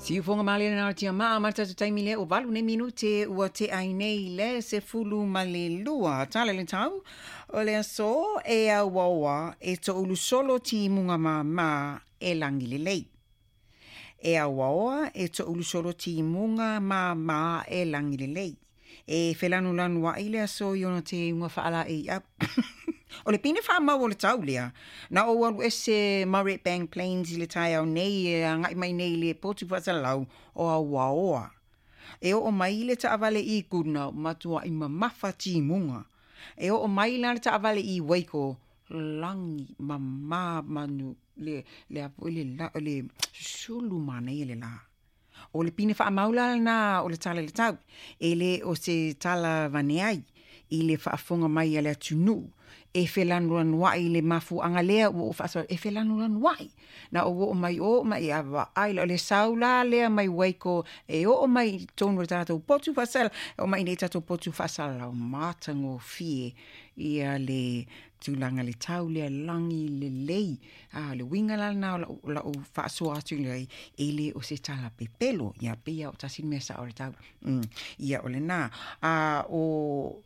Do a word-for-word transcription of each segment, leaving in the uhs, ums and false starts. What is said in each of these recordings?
Siufoga malie lena o le tiamaa ma le tatou taimi lea ua valu nei minute ua tea ai nei le sefulu ma le lua. Tala i le tau o le aso e auaoa e toulu solo timuga māmā e lagi lelei. E auaoa e toulu solo timuga māmā e lagi lelei. E felanulanuaʻi le aso i ona teuga faalaei au. O le pine faamau o le tau lea, na ou alu ese ma Redbank Plains i le taeao nei e agaʻi mai nei i le potu faasalalau o Auaoa. E oo mai le taavale i Goodna, matuaʻi mamafa timuga. E oo mai la le taavale i Waiko, lagi mamā manu le le a foi le la le susulu manaia le lā. O le pine faamau la lena o le tala i le tau, e le o se tala avane ai i le faafofoga mai a le atunuu e felanulanuaʻi i le mafuaaga lea ua ou faasoa e felanulanuaʻi. Na ou oo mai o ma ia vaai o le sau la lea mai Waiko e oo mai i totonu o le tatou potu faasala, oo mai i tatou potu faasalalau matagofie ia le tulaga le tau lea lagi lelei. A le uiga la lena o lau, lau faasoa atu i e le o se tala pepelo. Ia pei o tasi le mea sao o le tau. Mm. Ia o lena. A o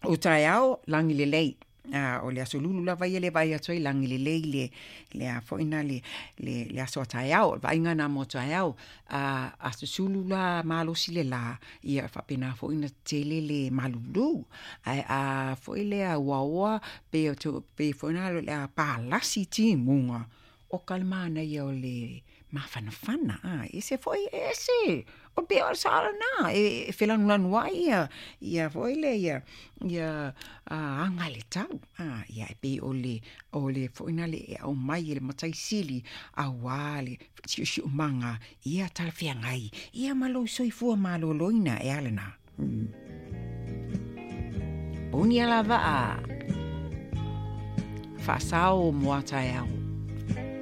o taeao lagi lelei. A o le aso lulu lava ia le vaai atu ai lagi lelei le le a foi na le le le aso a taeao, vaaiga na mo taeao. A a susulu la malosi le lā, ia faapena foi ona tele le malulu. Ae a foi lea uaoa pe o to pe foi na le a palasi timuga o ka le manaia o le mafanafana a ese foi ese o pei o le sao lena e felanulanuaʻi ia ia foi lea ia ia aga le tau a ia e pei o le o le foi na le e aumai e le matai sili auā le siosiomaga ia talafeagai ia ma lou soifua malōlōina e a lena. Mm. Puni ala vaa faasao mo a taeao.